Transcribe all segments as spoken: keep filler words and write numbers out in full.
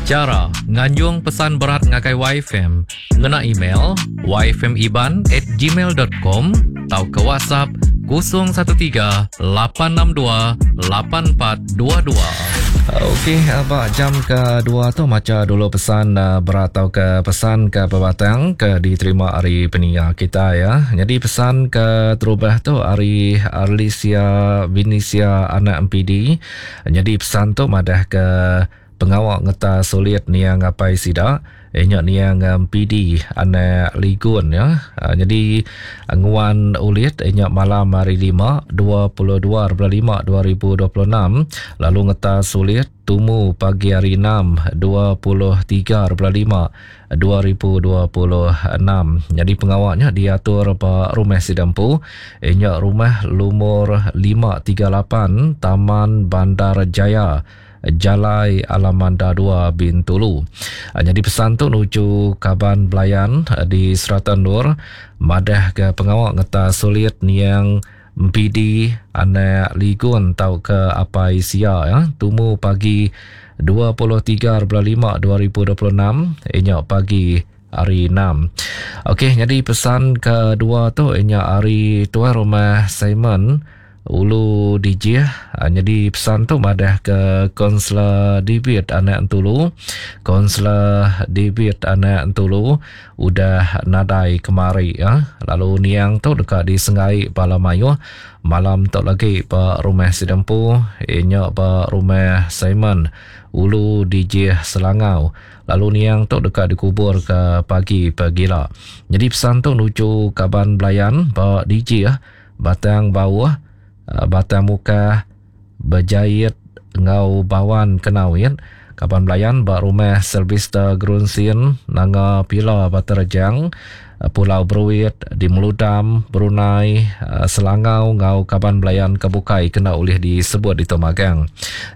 Chara nganjung pesan berat ngagai Y F M ngena email y f m iban at gmail dot com tauka WhatsApp kosong satu tiga lapan enam dua lapan empat dua dua. Okey, ba jam kedua tu maca dulu pesan berat atau ke pesan ke pebatang ke diterima hari peninga kita ya. Jadi pesan ke terubah tu hari Arlisia Vinisia anak M P D. Jadi pesan tu madah ke pengawak ngeta sulit niang apai sida inyak niang M P D anak Ligun ya. Ha, jadi nguan ulit inyak malam hari lima dua puluh dua bulan lima dua ribu dua puluh enam lalu ngeta sulit tumu pagi hari enam dua puluh tiga bulan lima dua ribu dua puluh enam. Jadi pengawaknya diatur ba rumah Sidampu inyak rumah lumur lima tiga lapan Taman Bandar Jaya Jalai Alamanda dua Bintulu. Jadi pesan tu nuju kaban belayan di Serata Nur madah ke pengawak ngeta sulit niang M P D anak Ligun tau ke apai sia ya tumu pagi dua puluh tiga bulan lima dua ribu dua puluh enam inyak pagi hari enam. Okey, jadi pesan kedua tu inyak hari tuan rumah Simon Ulu Dijih. Ha, jadi pesan tu madah ke Konselor David anak Entulu. Konselor David anak Entulu udah nadai kemari ya. Lalu niang tu dekat di Sengai Bala Mayuh malam tu lagi ba rumah Sidempu inyak ba rumah Simon Ulu Dijih Selangau. Lalu niang tu dekat dikubur ke pagi pegila. Jadi pesan tu nuju kaban belayan ba Dijih Batang Bawah Batang Muka Berjahit ngau Bawan Kenawit kaban belayan ba rumah Sylvester Grunsin Nanga Pila Baterejang Pulau Beruit di Meludam Brunei Selangau ngau kaban belayan kebukai kena oleh disebut di Tomagang.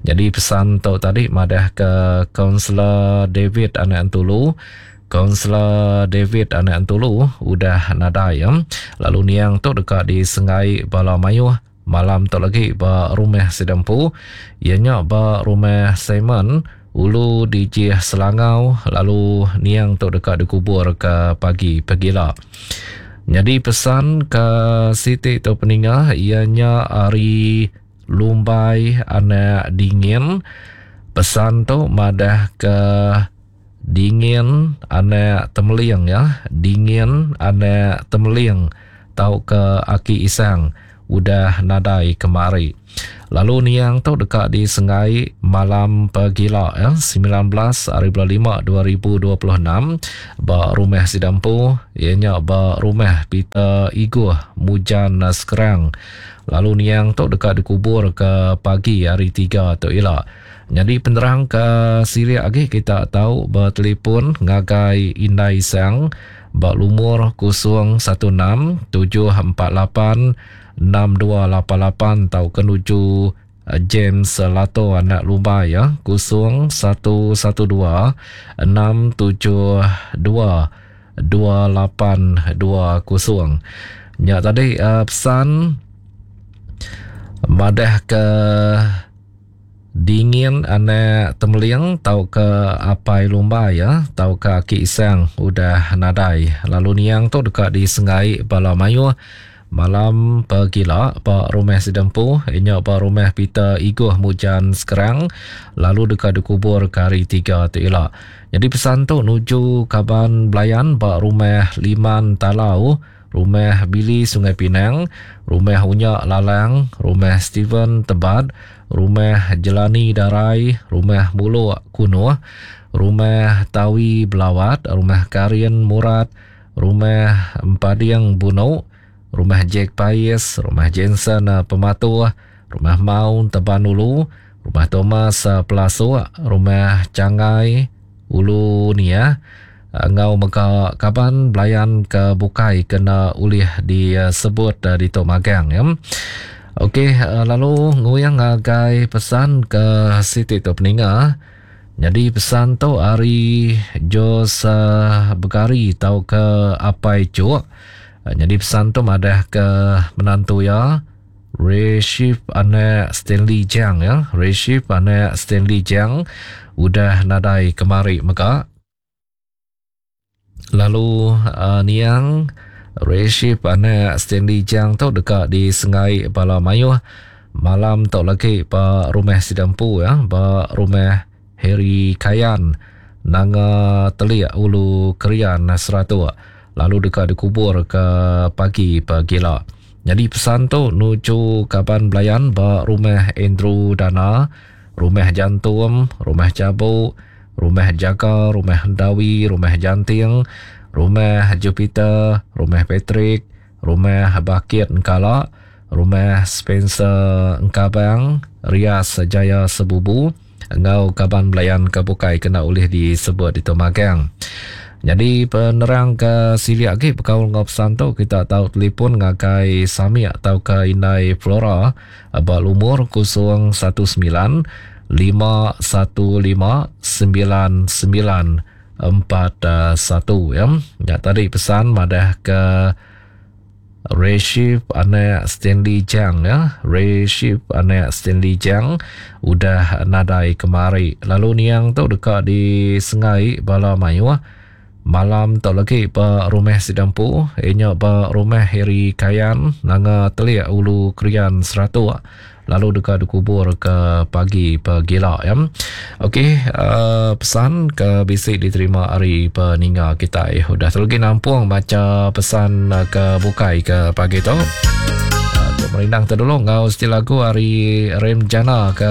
Jadi pesan tu tadi madah ke Konselor David anak Entulu. Konselor David anak Entulu udah nadai ya. Lalu niang tu dekat di Sengai Bala Mayuh malam tu lagi ba rumah Sidempu ianya ba rumah Simon Ulu Dijih Selangau lalu niang tu dekat dikubur ke pagi pegila. Jadi pesan ke Siti tu peninga ianya hari Lumbai anak Dingin. Pesan tu madah ke Dingin anak Temeling ya, Dingin anak Temeling tau ke Aki Isang udah nadai kemari. Lalu niang tu dekat di Sengai malam pegila ya, sembilan belas hari bulan lima dua ribu dua puluh enam ba rumah Sidampu ianya ba rumah Peter Iguh Mujan Sekerang. Lalu niang tu dekat dikubur ke pagi hari tiga tu ila. Jadi penerang ke sirik lagi kita tahu bertelefon ngagai Indai Isang ba lumur kosong satu enam tujuh empat lapan enam dua lapan lapan tau ke nuju James Lato anak Lumbai ya kosong satu satu dua enam tujuh dua dua lapan dua kosong. Nya tadi uh, pesan madah ke Dingin anak Temeling tau ke apai Lumbai ya tau ke Aki Isang udah nadai. Lalu niang tu dekat di Sengai Bala Mayuh malam pegila ba rumah Sidempu inya ba rumah Peter Iguh Mujan Sekerang lalu dekat dikubur ke hari tiga tu ila. Jadi pesan tu nuju kaban belayan ba rumah Liman Talau, rumah Billy Sungai Pinang, rumah Unyak Lalang, rumah Steven Tebat, rumah Jelani Darai, rumah Muluk Kunuh, rumah Tawi Belawat, rumah Karin Murad, rumah Empading Bunuk, rumah Jack Pais, rumah Jensen Pematuh, rumah Maun Teban Ulu, rumah Thomas Pelasuk, rumah Cangai Ulu Nia, ngau mega kaban belayan ke bukai kena ulih disebut di Tok Magang ya. Okey, lalu nguyang ngagai pesan ke Siti tu peninga. Jadi pesan tu hari Jos Begari tau ke Apai Cuk. Jadi pesan tu madah ke menantu ya Reship anak Stanley Jang ya. Reship anak Stanley Jang udah nadai kemari mega. Lalu uh, niang Reship anak Stanley Jang tu deka disengai bala mayuh malam tu lagi ba rumah Sidampu ya, ba rumah Harry Kayan Nanga Telik Ulu Krian Seratuk, lalu deka dikubur ke pagi pagila. Jadi pesan tu nuju kaban belayan ba rumah Andrew Dana, rumah Jantum, rumah Cabuk, rumah Jaga, rumah Hendawi, rumah Janting, rumah Jupiter, rumah Patrick, rumah Bakit Engkala, rumah Spencer Engkabang, Rias Jaya Sebubu, engau kaban belayan ke bukai kena ulih disebut di Magang. Jadi penerang ke siliak lagi berkaul ngau pesan tu, kita tahu telefon ngagai Sami atau ke Indai Flora ba lumur kosong satu sembilan lima satu lima sembilan sembilan empat satu ya. Ya tadi pesan madah ke Reship anak Stanley Jang ya. Reship anak Stanley Jang udah nadai kemari. Lalu niang tu dekat di Sengai Bala Mayuh malam tu lagi ba rumah Sidampu, inya ba rumah Harry Kayan Nanga Telik Ulu Krian Seratuk, lalu dekat dikubur ke pagi pagila ya. Okey, uh, pesan ke bisi diterima hari peninga kita. Eh, udah terlagi nampung baca pesan ke bukai ke pagi tu. Uh, merindang terdulu ngau setiap lagu hari Rem Jana ke